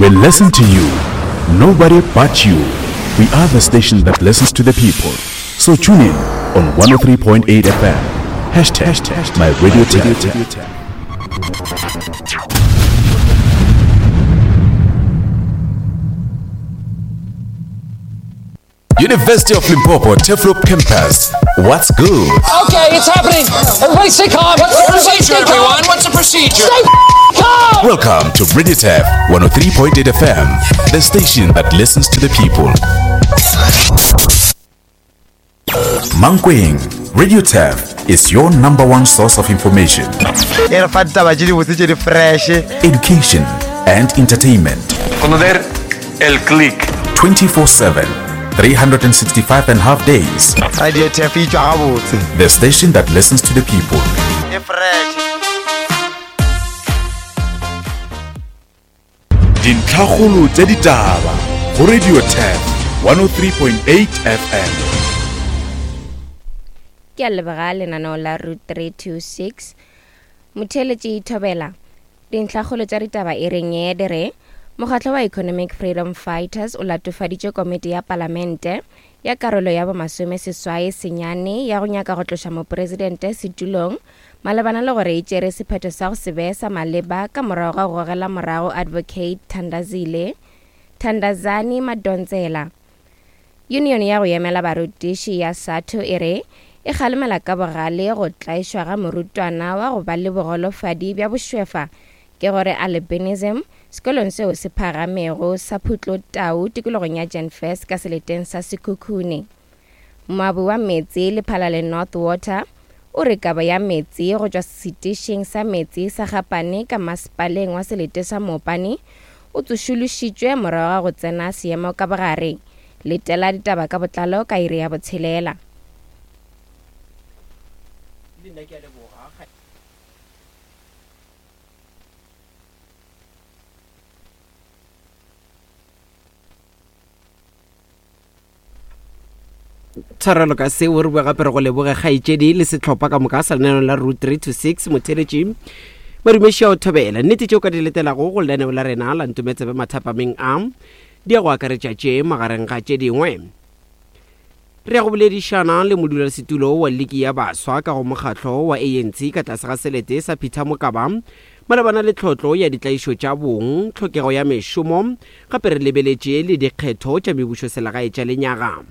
We listen to you. Nobody but you. We are the station that listens to the people. So tune in on 103.8 FM. Hashtag my radio tap. University of Limpopo Turfloop Campus. What's good? Okay, it's happening. Everybody stay calm. What's the Everybody procedure, stay calm. everyone? What's the procedure? Stay calm. Welcome to Radio Tap 103.8 FM, the station that listens to the people. Mankweng, Radio Tap is your number one source of information, e re fa ditaba tše dibotse tše di fresh education, and entertainment. Conocer el click. 24 7, 365 and a half days. Radio Tef e tšwa gabotse. The station that listens to the people. E fresh. Dintlhakgolo tša ditaba go Radio Tap 103.8 FM. Ke a leboga lenaneo la Route 326. Motheeletši Thobela, Dintlhakgolo tša ditaba e reng ye di re, Mokgatlo wa Economic Freedom Fighters o latofaditše komiti ya palamente ya karolo ya bomasome seswai senyane ya go nyaka go tloša mopresidente setulong malebana le gore e tšere sephetho sa go se be sa maleba ka morago ga go gogela morago Advocate Thandazile Thandazani Madonsela. Yunione ya go emela barutiši ya SADTU e re e kgalemela ka bogale go tlaišwa ga morutwana wa go ba le bogolofadi bja bošwefa, ke gore albinism, sekolong seo se phagamego sa Phutlotau tikologong ya Jan First ka seleteng sa Sekhukhune. Moabi wa meetse Lephalale North Water o re kabo ya meetse go tšwa setišing sa meetse sa Gapane ka masepaleng wa selete sa Mopani o tsošološitšwe morago ga go tsena seemo ka bogare. Letela ditaba ka botlalo ka iri ya botshelela. Le nna ke a leboga. Tshwarelo ka seo, re boe gape re go leboge kgaetšedi le sehlopha ka moka sa lenaneo la Route 3 to 6 motheletši Madumeši a o thobela. Nnete tšeo ka di letelago go lenaneo la rena la Ntometsebe mathapameng a di ya go akaretša tše magareng ga tše dingwe. Re ya go boledišana le modulasetulo wa liki ya baswa ka go mokgatlo wa ANC ka tlase ga selete sa Peter Mokaba malebana le tlhotlo ya ditlaišo tša bong, tlhokego ya mešomo, gape re lebeletše le dikgetho tša mebušoselegae tša lenyaga.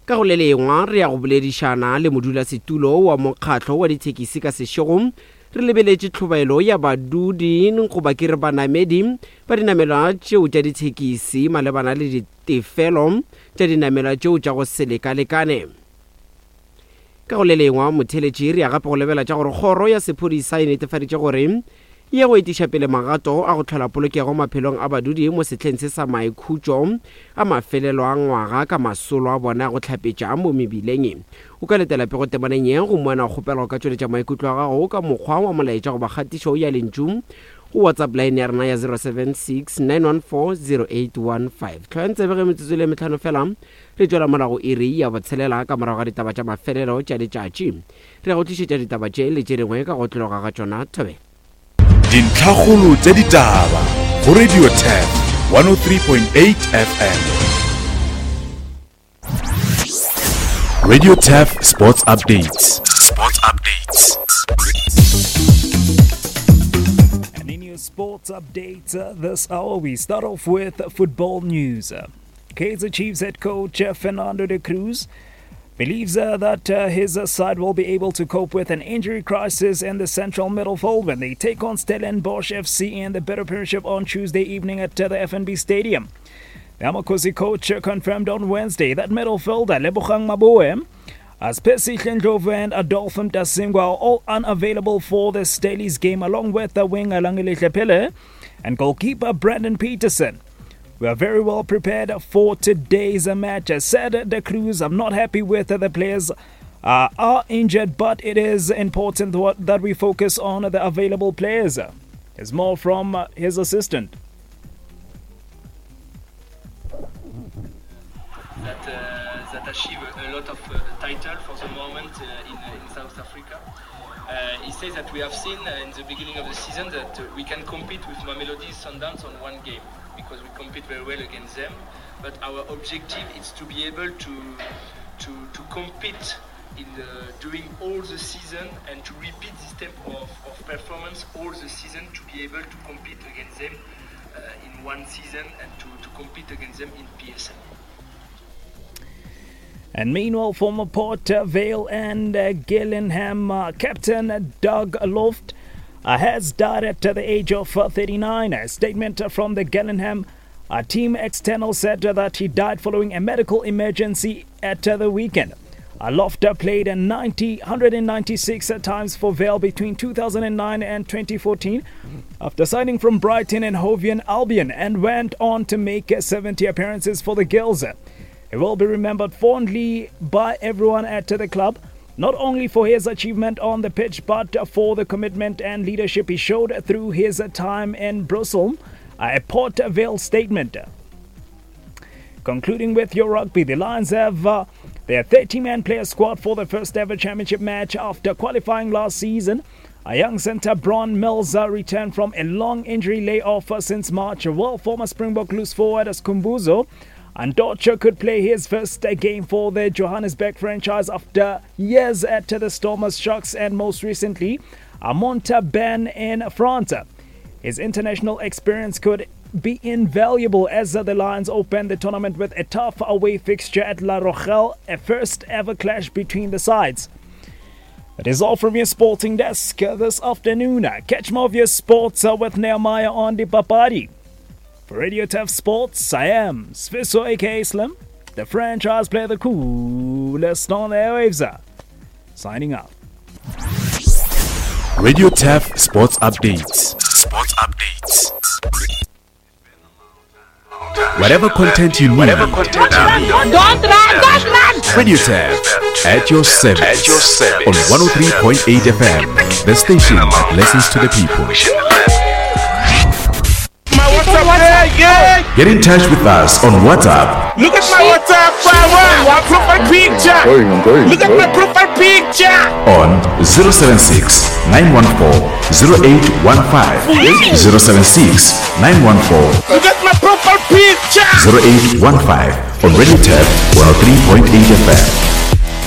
Ka go le lengwa re ya go boledišana le modulasetulo wa mokgatlo wa dithekisi ka sešego re lebeletše tlhobaelo ya badudi goba ke re banamedi ba dinamelwa tšeo tša dithekisi malebana le ditefelo tša dinamelwa tšeo tša go se lekalekane. Ka go le lengwa, motheeletši re ya gape go lebela tša gore kgoro ya sephodisa e netefaditše gore e ye go etiša pele magato a go hlola polokego maphelong a badudi mo sehleng se sa maikhutšo a mafelelo a ngwaga ka masolo a bona a go hlapetša mo mebileng. O ka letela pego temaneng ye gomme wena o kgopelwa go ka tšweletša maikutlo a gago ka mokgwa wa molaetša goba kgatišo ya lentšu go WhatsApp line ya rena ya 076 914 0815. Hlwayang tsebe ge metsotso e le mehlano fela Re tšwela morago iri ya botshelela ka morago ga ditaba tša mafelelo tša letšatši. Re ya go tlišetša ditaba tše le tše dingwe ka go otlologa ga tšona. Thobela. Dintlhakgolo tša ditaba go Radio Turf 103.8 FM. Radio Turf Sports Updates. Sports Updates. And in your sports updates uh, this hour, we start off with football news. Kaizer Chiefs head coach uh, Fernando de Cruz believes uh, that uh, his uh, side will be able to cope with an injury crisis in the central midfield when they take on Stellenbosch FC in the Better Premiership on Tuesday evening at uh, the FNB Stadium. The Amakhosi coach uh, confirmed on Wednesday that midfielder Lebohang Maboe as Percy Ndlovu and Adolph Mtasingwa are all unavailable for the Stellies game along with the winger Langelihle Pele and goalkeeper Brandon Peterson. We are very well prepared for today's match. Said De Cruz, I'm not happy with the players uh, are injured, but it is important that we focus on the available players. There's more from uh, his assistant. That, uh, that that achieved a lot of title for the moment in, in South Africa. He says that we have seen in the beginning of the season that we can compete with Mamelodi Sundowns on one game because we compete very well against them. But our objective is to be able to to, to compete in the, during all the season and to repeat this type of, of performance all the season to be able to compete against them in one season and to, to compete against them in PSL. And meanwhile, former Port Vale and Gillingham captain Doug Loft has died at the age of 39. A statement from the Gillingham team external said that he died following a medical emergency at the weekend. Loft played 90, 196 times for Vale between 2009 and 2014 after signing from Brighton and Hove Albion and went on to make 70 appearances for the Gills. He will be remembered fondly by everyone at the club, not only for his achievement on the pitch, but for the commitment and leadership he showed through his time in Brussels. A Port Vale statement. Concluding with your rugby, the Lions have their 30 man player squad for the first ever championship match after qualifying last season. A young centre, Bron Mills, returned from a long injury layoff since March, while former Springbok loose forward Skhumbuzo Andocha could play his first game for the Johannesburg franchise after years at the Stormers Sharks and most recently Montauban in France. His international experience could be invaluable as the Lions open the tournament with a tough away fixture at La Rochelle, a first ever clash between the sides. That is all from your sporting desk this afternoon. Catch more of your sports with Nehemiah on the Papadi. For Radio Turf Sports, I am Sviso aka Slim, the franchise player, the coolest on the airwaves. Signing out. Radio Turf Sports Updates. Sports Updates. Whatever content you need. Whatever content you need. Don't run, don't run! Radio Turf at your service. At your service. On 103.8 FM, the station that listens to the people. Get in touch with us on WhatsApp. Look at my WhatsApp, my profile picture. Look at my profile picture. On 076 914 0815. 076 914. Look at my profile picture. 0815 on Radio Turf 103.8 FM.